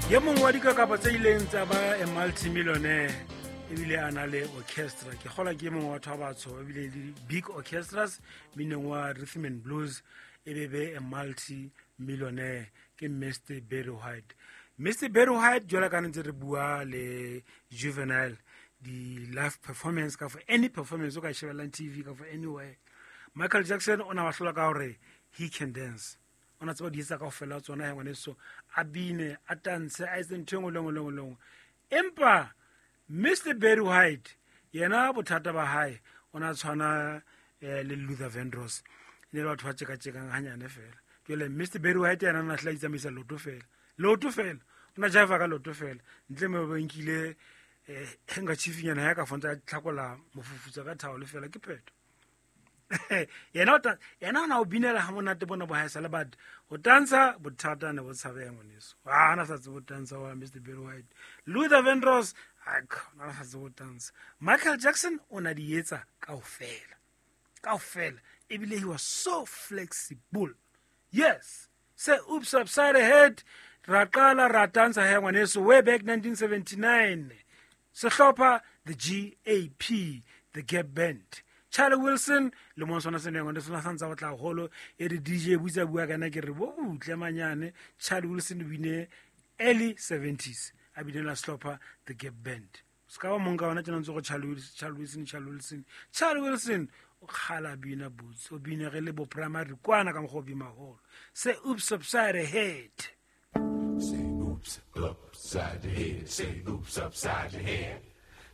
Ye mongwe wa dikakapa tse ileng tsa ba a multimillionaire ebile a na le orchestra, ke gola ke mongwe wa batho ba batsho ebile le big orchestras mineng wa rhythm and blues, e be be a multi-millionaire, ke Mr Barry White. Mr Barry White, jwale ka ntse re bua le Juvenile, di-live performance ka for any performance o ka shebellang TV ka for anywhere, Michael Jackson o na ba hlola ka gore he can dance. O na tseba di etsa kaofela tsona he ngwaneso, a bine, a tantshe, a etse ntho e nngwe le nngwe le nngwe le nngwe. Empa Mr Barry White yena, bothata ba hae, o na tshwana le Luther Vandross, e ne le batho ba tjekatjekang hanyane fela. Jwale Mr Barry White yena na hla itsamaisa loto fela, loto fela, o na jiva ka loto fela, ntle mo ba nkile nka chifinyana ya ka fontsa tlhakola mofufutsa ka thaolo fela, ke phetho. Yena o na o binela ha monate bona bo haesale, but ho tantsha bothata ne bo tshabeya ngwaneso. A na sa tsebe ho tantsha wa Mr Barry White. Luther Vandross na sa tsebe ho tantsha. Michael Jackson o na di etsa kaofela kaofela, ebile he was so flexible. Yes, say "Oops Upside Head". Ra qala ra tantsha he ngwaneso way back 1979, sehlopha the GAP, the Gap Band, Charlie Wilson le mo sona sene ngwane sona santsa go tla golo e re DJ butsa bua kana ke re bo butle manyane. Charlie Wilson o bine early 70s, a bine la sehlopha the Gap Band. Se ka ba mong ka ona tjena ntse go Charlie Wilson, Charlie Wilson, Charlie Wilson, Charlie Wilson o kgala bina boots, o bine ge le bo primary kwana ka mokgwa o bima holo. Say "Oops Upside a Head". Say "oops upside your head". Say "oops upside your head".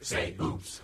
Say "oops."